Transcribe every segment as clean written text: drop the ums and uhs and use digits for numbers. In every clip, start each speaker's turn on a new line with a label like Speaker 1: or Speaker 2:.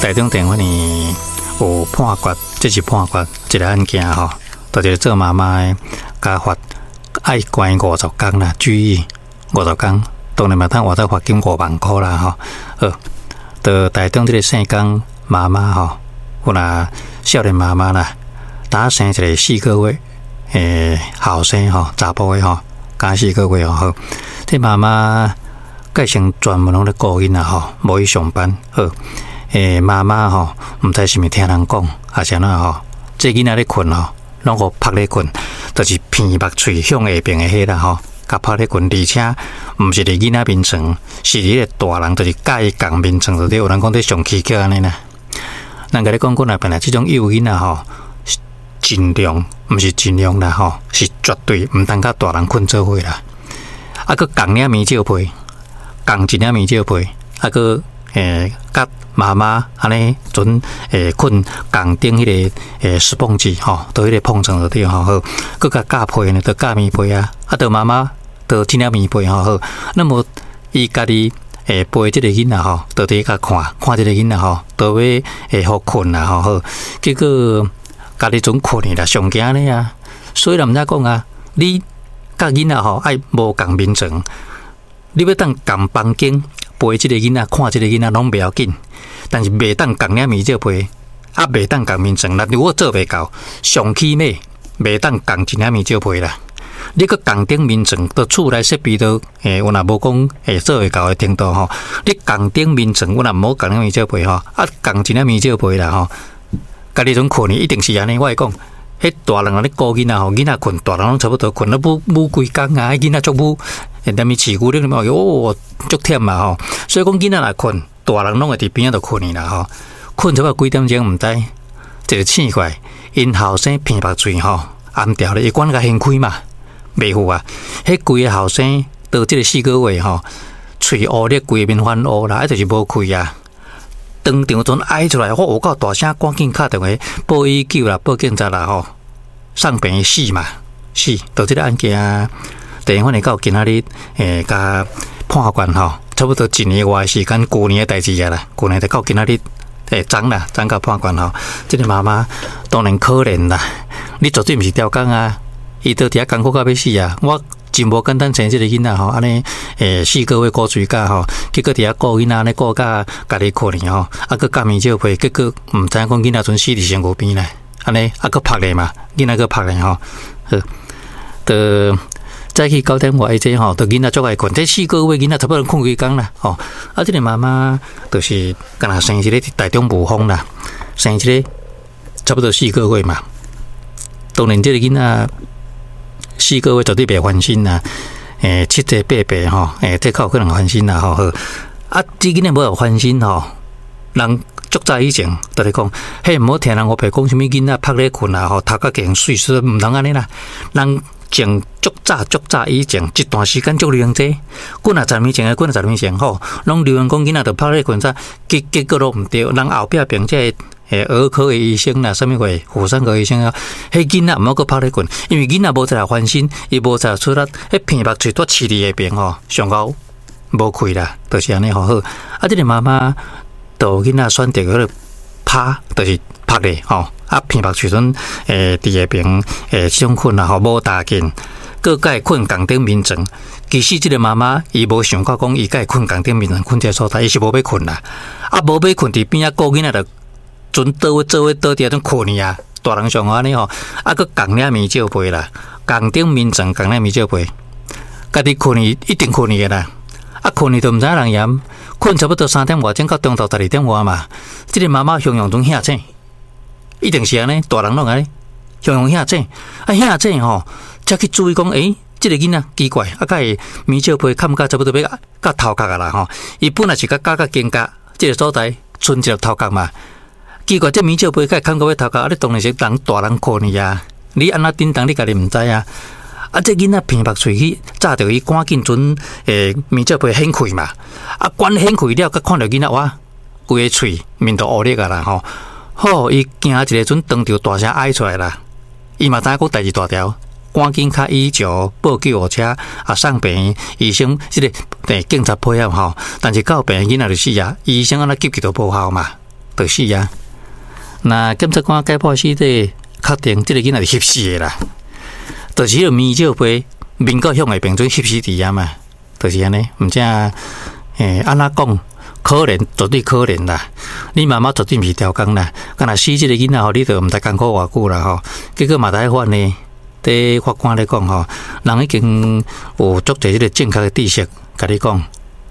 Speaker 1: 台中地法院有判決，這是判決一個案件吼，就一個做媽媽的，共罰愛關50工啦，拘役五十工，當然嘛通換做罰金5萬箍啦吼。好，到台中這個姓江媽媽吼，有若少年媽媽啦，打生一個4個月的後生吼，查埔的吼，敢四個月吼。好，這媽媽改成專門攏咧顧囡仔吼，無去上班。好，媽媽吼，毋知是毋是聽人講，抑是按怎吼？這囡仔咧睏吼，攏予曝咧睏，就是鼻目喙向下爿的彼啦吼，共曝咧睏，而且毋是佇囡仔眠床，是佇彼個大人，就是佮伊仝眠床，就對，有人講咧上起腳按呢啦。人共你講過來本來這種幼囡仔吼，盡量毋是盡量啦吼，是絕對毋通佮大人睏做伙啦。啊，閣仝領棉罩被，仝一領棉罩被，啊，閣佮媽媽按呢陣睏仝頂彼個スポンジ吼，佇彼個膨床就對吼好，閣共蓋被呢，著蓋棉被啊，啊，著媽媽著這領棉被吼好。那麼伊家己陪這個囡仔吼，著佇共看看這個囡仔吼，著欲予睏啦吼好，結果家己陣睏去啦，上驚按呢啊！所以人毋知講啊，你佮囡仔吼愛無仝眠床，你欲當仝房間陪這個囡仔，看這個囡仔攏袂要緊，但是袂當仝領棉罩被，啊，袂當仝眠床。若如果做袂到，上起碼袂當仝一領棉罩被啦。你閣仝頂眠床，佇厝內設備都有若無講做會到的程度吼，你仝頂眠床，阮若毋好仝領棉罩被吼，啊，仝一領棉罩被啦吼，家己陣睏去一定是按呢。我會講，彼大人若咧顧囡仔吼，囡仔睏，大人攏差不多睏了母母規工啊，彼囡仔足母，連物飼牛奶嘛，哦，足忝嘛吼。所以講囡仔若睏，大人攏會佇邊仔度睏去啦吼。睏差不多幾點鐘毋知，一個醒過來，𪜶後生鼻目喙吼，暗調咧，伊管共掀開嘛，袂赴啊。彼規个後生到這個四個月吼，喙烏咧，規个面翻烏啦，彼就是無氣啊。當場陣哀出來，我有夠大聲，趕緊敲電話報119啦，報警察啦吼，送病院死嘛死。就這個案件，地法院到今仔日共判決吼，差不多一年外時間，舊年的代誌啊啦，舊年就到今仔日昨啦，昨到判決吼。這個媽媽當然可憐啦，你絕對毋是刁工啊，伊都佇遐艱苦到欲死啊，我真無簡單生這個囡仔吼，按呢4個月顧水餃吼，結果佇遐顧囡仔按呢顧甲家己睏去吼，啊閣蓋棉罩被，結果毋知影講囡仔陣死佇身軀邊咧，按呢啊閣曝咧嘛，囡仔閣曝咧吼，好，就早起9點外這吼，就囡仔足愛睏，這四個月囡仔差不多睏規工啦，吼，啊這個媽媽就是敢若生一个佇台中霧峰啦，生一個差不多四個月嘛，當然這個囡仔四個月絕對袂翻身啦，七歲八歲吼，這較有可能翻身啦吼。好，啊，這囡仔無有翻身吼，人足早以前就咧講，彼毋好聽人烏白講啥物囡仔曝咧睏啊，吼，頭殼勁媠，說毋通按呢啦。人從足早足早以前一段時間足流行這，幾若十年前的幾若十年前吼，攏流行講囡仔著曝咧睏啥，結果攏毋對，人後壁並這個兒科的醫生啦，啥物貨婦產科醫生啊，彼囡仔毋好閣曝咧睏，因為囡仔無才來翻身，伊無才出力，彼鼻目喙拄飼佇下爿吼，上夠無氣啦，就是按呢吼好。啊，這個媽媽就囡仔選擇彼個趴，就是曝咧吼，啊鼻目喙陣佇下爿這種睏啦吼，無大緊，閣共伊睏仝頂眠床。其實這個媽媽伊無想過講伊共伊睏仝頂眠床睏這個所在，伊是無欲睏啦。啊，無欲睏佇邊仔顧囡仔就陣倒位做伙倒佇遐陣睏去啊，大人上按呢吼，啊，閣仝領棉罩被啦，仝頂眠床仝領棉罩被，家己睏去一定睏去的啦。啊，睏去就毋知影人嫌，睏差不多3點外鐘到中晝12點外嘛。這個媽媽雄雄陣嚇醒，一定是按呢，大人攏按呢，雄雄嚇醒，啊嚇醒吼，才去注意講，欸，這個囡仔奇怪，啊，敢會棉罩被冚甲差不多欲到頭殼啊啦吼。伊本來是共蓋甲肩胛這個所在，賰一粒頭殼嘛。奇怪，這棉罩被敢會冚到欲頭殼，啊！你當然是人大人睏去啊！你按怎叮當，你家己毋知啊！啊，這囡仔鼻目喙去扎著伊，趕緊陣棉罩被掀開嘛！啊，管掀開了，閣看著囡仔哇，規個喙面都烏咧啊啦吼！好，伊驚一个陣當場大聲哀出來啦！伊嘛知影講代誌大條，趕緊敲119報救護車啊，送病院，醫生這個警察配合吼，但是到病院囡仔就死啊！醫生按怎急救都無效嘛！就死啊。那檢察官解剖屍體確定，這個囡仔是翕死的啦，就是彼個棉罩被民國向的病陣翕死佇遐嘛，就是按呢，毋知按怎講？可憐，絕對可憐啦！你媽媽絕對毋是刁工啦，敢若死這個囡仔吼，你就毋知艱苦偌久啦吼。結果嘛，台法呢，佇法官咧講吼，人已經有足濟這個正確的知識，共你講，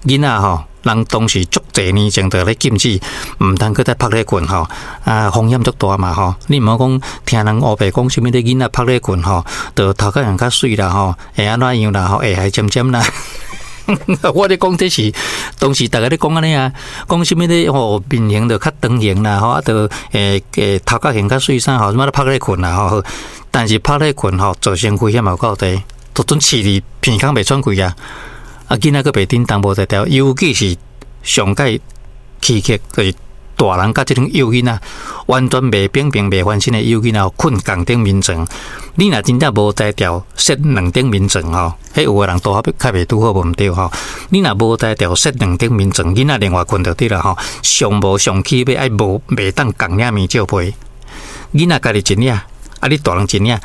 Speaker 1: 囡仔吼，人當時足濟年前就咧禁止，毋通閣再曝咧睏吼，啊，風險足大嘛吼。你毋好講聽人烏白講啥物咧囡仔曝咧睏吼，就頭殼會較媠啦吼，會按怎樣啦吼，會害尖尖啦。我咧講這是當時逐家咧講按呢啊，講啥物咧吼，面型就較長形啦吼，啊，就頭殼型較媠啥吼，啥物咧曝咧睏啦吼。但是曝咧睏吼，造成危險嘛有夠濟，就陣飼佇鼻孔袂喘氣啊，啊，囡仔閣袂振動無才調，尤其是上蓋蹊蹺，就是大人佮這種幼囡仔，完全袂扁平袂翻身的幼囡仔，睏仝頂眠床，你若真正無才調設兩頂眠床吼，彼有的人拄好較袂拄好無毋對吼。你若無才調設兩頂眠床，囡仔另外睏就對啦吼。上無上起碼愛無袂當仝領棉罩被，囡仔家己一領，啊你大人一領，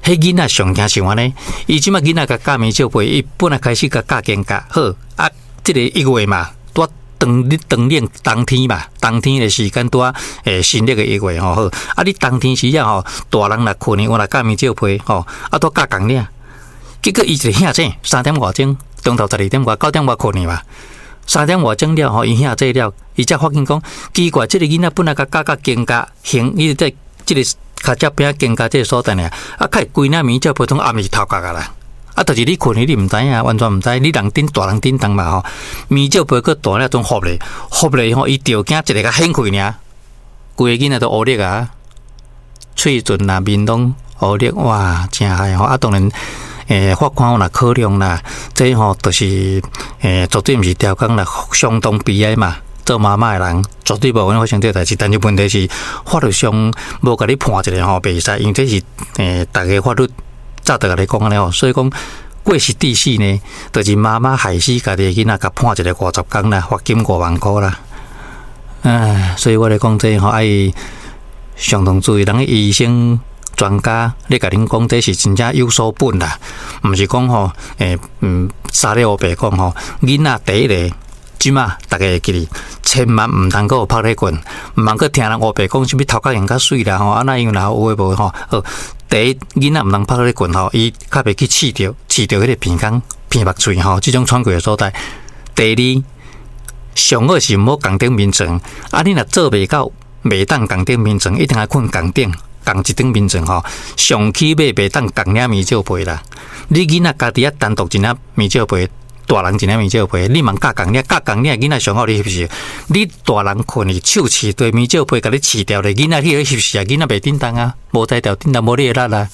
Speaker 1: 彼囡仔上驚是按呢，伊這擺囡仔共蓋棉罩被，伊本來開始共蓋肩胛，好啊，這個1月嘛，拄當當冷冬天嘛，冬天的時間拄啊，新曆的一月吼好，啊你冬天時啊吼，大人若睏呢，我若蓋棉罩被吼，啊拄蓋仝領，結果伊一個醒醒，3點外鐘，中晝12點外，9點外睏去嘛，三點外鐘了吼，伊醒醒了，伊才發現講奇怪，這個囡仔本來共蓋甲肩胛形，伊在這個跤脊邊肩胛這個所在爾，啊，開規領棉罩被攏掩佇頭殼啊啦。啊，就是你睏去，你毋知影，完全毋知。你人頂大人振動嘛吼，棉罩被閣大領陣覆咧，覆咧吼，伊著驚一个共掀開爾，規个囡仔都烏綠啊，喙唇啦面攏烏綠，哇，誠害吼！啊，當然，法官有若考量啦，這吼就是絕對毋是刁工啦，相當悲哀嘛。做媽媽的人絕對無可能發生這個代誌，但是問題是法律上無共你判一个吼袂使，因為這是逐个法律。早就共你講按呢吼，所以講過失致死呢，就是媽媽害死家己的囡仔，共判一个50工啦，罰金5萬箍啦。唉，所以我咧講這吼愛相當注意，人醫生專家咧共恁講，這是真正有所本啦，毋是講吼，沙咧烏白講吼，囡仔第一个，這馬逐家會記得，千萬毋通閣有曝咧睏，毋通閣聽人烏白講啥物頭殼型較媠啦吼，按怎樣啦，有的無吼。好，第一，囡仔毋通曝咧睏吼，伊較袂去刺著，刺著彼個鼻孔、鼻目喙吼，這種喘氣的所在。第二，上好是毋好仝頂眠床，啊，你若做袂到，袂當仝頂眠床，一定愛睏仝頂，仝一頂眠床吼。上起碼袂當仝領棉罩被啦。你囡仔家己愛單獨一領棉罩被。大人一領棉罩被，你茫蓋仝領，蓋仝領囡仔上好你翕死。你大人睏去手拭對棉罩被，共你拭掉咧，囡仔去咧翕死啊！囡仔袂振動啊，無才調振動，無你的力啊，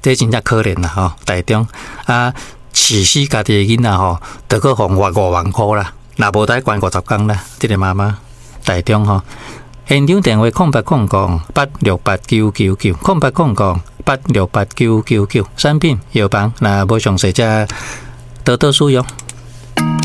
Speaker 1: 這真正可憐啦吼！台中啊，飼死家己的囡仔吼，著閣予罰5萬箍啦，若無得關50工啦。這個媽媽，台中吼，現場電話0800868999，0800868999，產品藥房，若無詳細則多多使用。